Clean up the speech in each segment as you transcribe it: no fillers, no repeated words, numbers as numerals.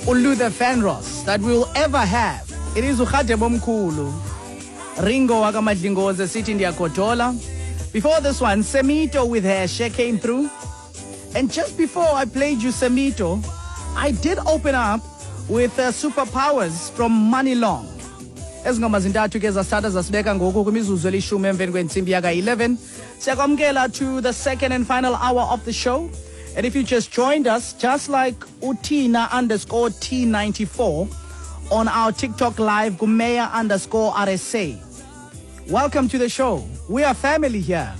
uLuther Vandross that we'll ever have. It is uRhadebe Omkhulu, Ringo wakaMadlingozi, sithi ndiyagodola. Before this one, Semito with Heshe came through. And just before I played you Semito, I did open up with Superpowers from Money Long. Ezi ngoma zintathu ke zasithatha zasibeka ngoku kwimizuzu 10 emveni kwentsimbi yaka-11. Siyakwamkela to the second and final hour of the show. And if you just joined us, just like uTina_T94 on our TikTok live, Gumeya_RSA. Welcome to the show. We are family here.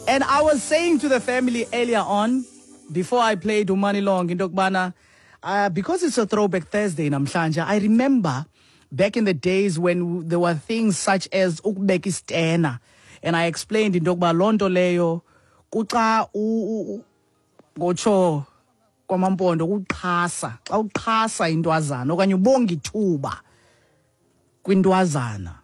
And I was saying to the family earlier on, before I played uMoney Long, into yokubana, because it's a Throwback Thursday namhlanje, I remember back in the days when there were things such as ukubeka istena. And I explained into yokuba loo nto leyo kuxa ngotsho kwamaMpondo kuxhasa, xa uxhasa intwazana okanye ubonga ithuba kwintwazana.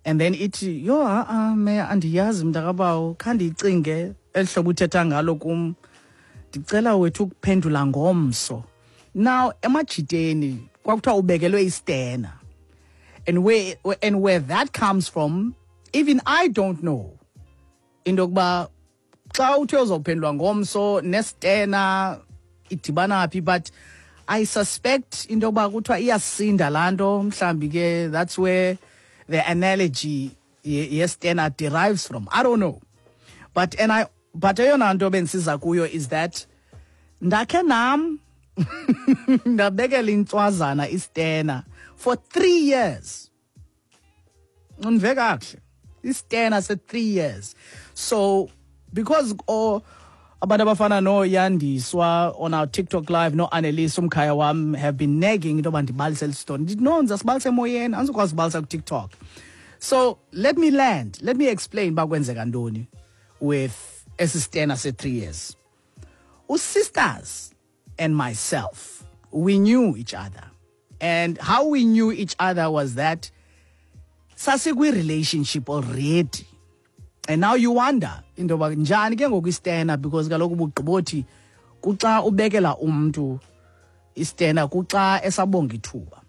And then ithi, "Yho, ha-a me, andiyazi mntakabawo, khandiyicinge eli hlobo uthetha ngalo kum, ndicela wethu ukuphendula ngomso." Now emajiteni kwakuthiwa ubekelwe istena, and where that comes from, even I don't know, into yokuba xa uthe uzawuphendulwa ngomso nestena idibana phi. But I suspect into yokuba kuthiwa iyasinda laa nto. Mhlawumbi ke that's where the analogy yestena derives from. I don't know. But eyona nto bendisiza kuyo is that ndakhe nam ndabekela intswazana istena for 3 years. Undive kakuhle, istena se-3 years. So because abantu abafana noYandiswa on our TikTok live, no-Annelise umkhaya wam, have been nagging into yoba ndibalise eli story, ndithi no, ndizasibalisa emoyeni, andizukwazi ubalisa kuTikTok. So let me land, let me explain uba kwenzeka ntoni with esi stena se-3 years. Usisters and myself, we knew each other, and how we knew each other was that sasikwi-relationship already. And now you wonder into yoba njani ke ngoku istena, because kaloku bugqibothi kuxa ubekela umntu istena kuxa esabonga ithuba.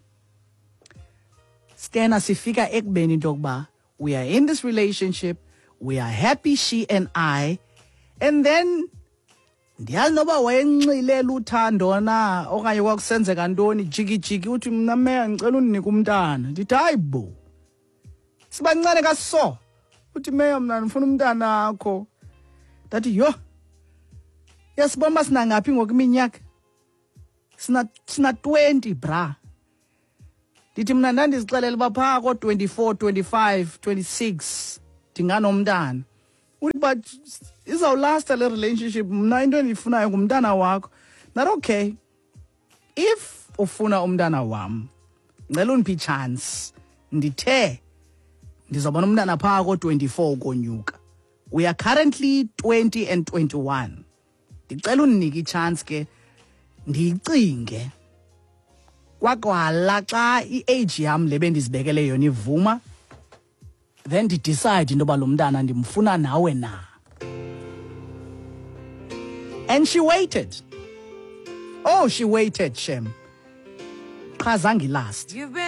Stena sifika ekubeni into yokuba we are in this relationship, we are happy, she and I. And then ndiyazi noba wayenxilela uthando na okanye kwakusenzeka ntoni, jikijiki uthi, "Mna meya, ndicela undinike umntana." Ndithi, "Hayi bo, sibancane kaso." Uthi, "Meya, mna ndifuna umntana akho." Ndathi, "Yho, yasibona uba sinangaphi ngoku iminyaka? Sina 20, bra." Ndithi mna ndandizixelela uba phaa ko-24, 25, 26 ndinganomntana. Uthi, "But izawulasta le relationship, mna into endiyifunayo ngumntana wakho." Not okay, if ufuna umntana wam, ngicela undiphe i-chance. Ndithe ndizawubona umntana phaa ko-24 ukonyuka. We are currently 20 and 21. Ndicela undinike i-chance ke ndiyicinge. Kwakwala xa i-age yam le bendizibekele yona ivuma, then ndi-decide into yoba lo mntana ndimfuna nawe na. And she waited. Oh, she waited, shem. Qha zange last. You've been